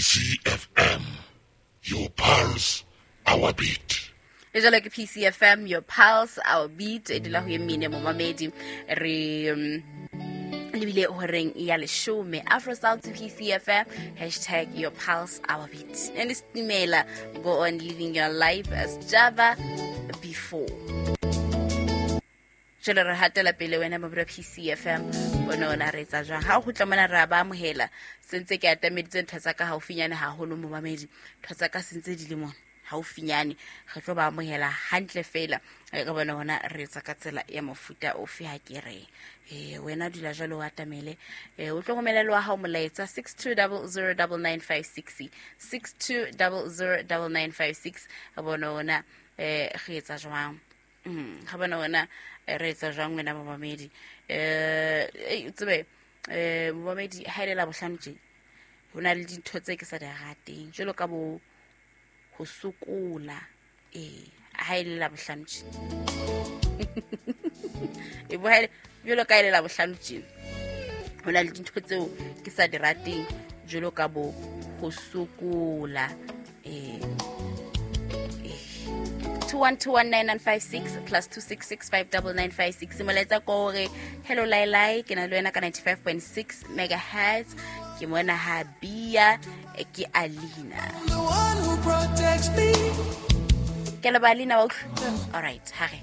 PCFM, your pulse, our beat. E jalo ke PCFM, your pulse, our beat. E dula go ye mmine momamedi re lebile horeng ya leshome. Afro Style to PCFM, hashtag your pulse, our beat. And Stimela, go on living your life as Java before. Jalo re hatela pele wena mobira PCFM, bone ona re etsa jwang ha o kgutla mona. Re a ba amohela sentse ke atameditse ntho tsa ka haufinyane haholo momamedi, ntho tsa ka sentse di le mona haufinyane. Re tlo ba amohela hantle fela. Re bone hona re etsa ka tsela ya mofuta ofe. Ha ke re wena dula jwalo o atamele, o tlo romela le wa hao molaetsa 62009956, 62009956. Re bone hona re etsa jwang. Ga bona wena re etsa jwang wena momamedi. Ei, o tsebe momamedi, ha e le Labohlano tje ho na le dintho tse ke sa di rateng jwalo ka bo ho sokola. Ee, ha e le Labohlano tje e bo jwalo ka e le Labohlano tje ho na le dintho tseo ke sa di rateng jwalo ka bo ho sokola. Ee, 21219956 plus 26659956. Molaetsa ko hore hello lailai, ke na le wena ka 95.6 megahertz, ke mona ha bia ke Alina. The one who protects me. Ke leba Alina wa utlwa. All right, ha re